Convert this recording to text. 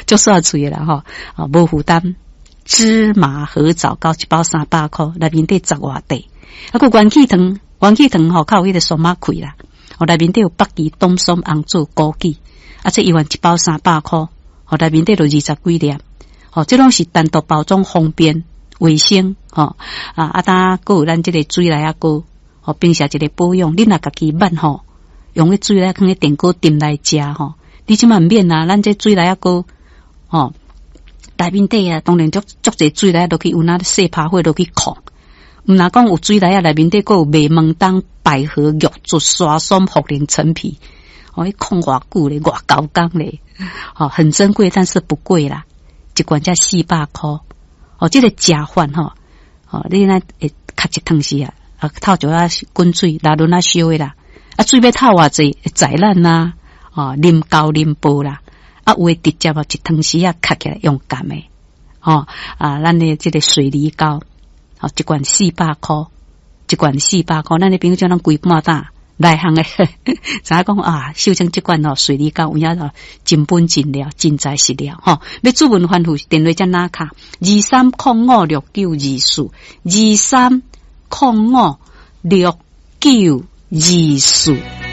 足煞喙啦吼，哦，無負擔。芝麻核棗糕一包300箍，內面底十外塊。啊，閣元氣糖，元氣糖吼，較有彼個酸仔氣啦。哦，內面底有北芪、冬筍、紅棗、枸杞，啊，這一罐一包三百箍，哦，內面底就二十幾粒。哦，這攏是單獨包裝，方便衛生，吼啊啊！當閣有咱這個水螺仔糕，吼，平時一個保養，你若家己捌吼，用彼水螺仔囥佇電鍋炖來食吼，你這馬毋免啊，咱這水螺仔糕，吼。內面底啊，當然足足濟水螺仔落去，有哪細拍火落去炕。毋若講有水螺仔內面底，閣有麥門冬、百合、玉竹、沙參、茯苓、陳皮，哦，彼炕偌久咧，偌厚工咧，吼，很珍貴，但是不貴啦，一罐才400箍。哦，這個食法吼，哦，你若會較一湯匙啊，啊，透一下滾水，來輪仔燒的啦，啊，水欲透偌濟，會在咱啦，哦，啉厚啉薄啦。啊，有的直接啊，一湯匙啊，抾起來用含的，吼啊，咱的這個水梨糕，吼，一罐四百箍，一罐四百箍，咱的朋友叫咱規半打內行的，知影講啊，秀清這罐吼水梨糕有影真本真料，真材實料，吼。欲諮問番號電話才哪卡？23056924，23056924。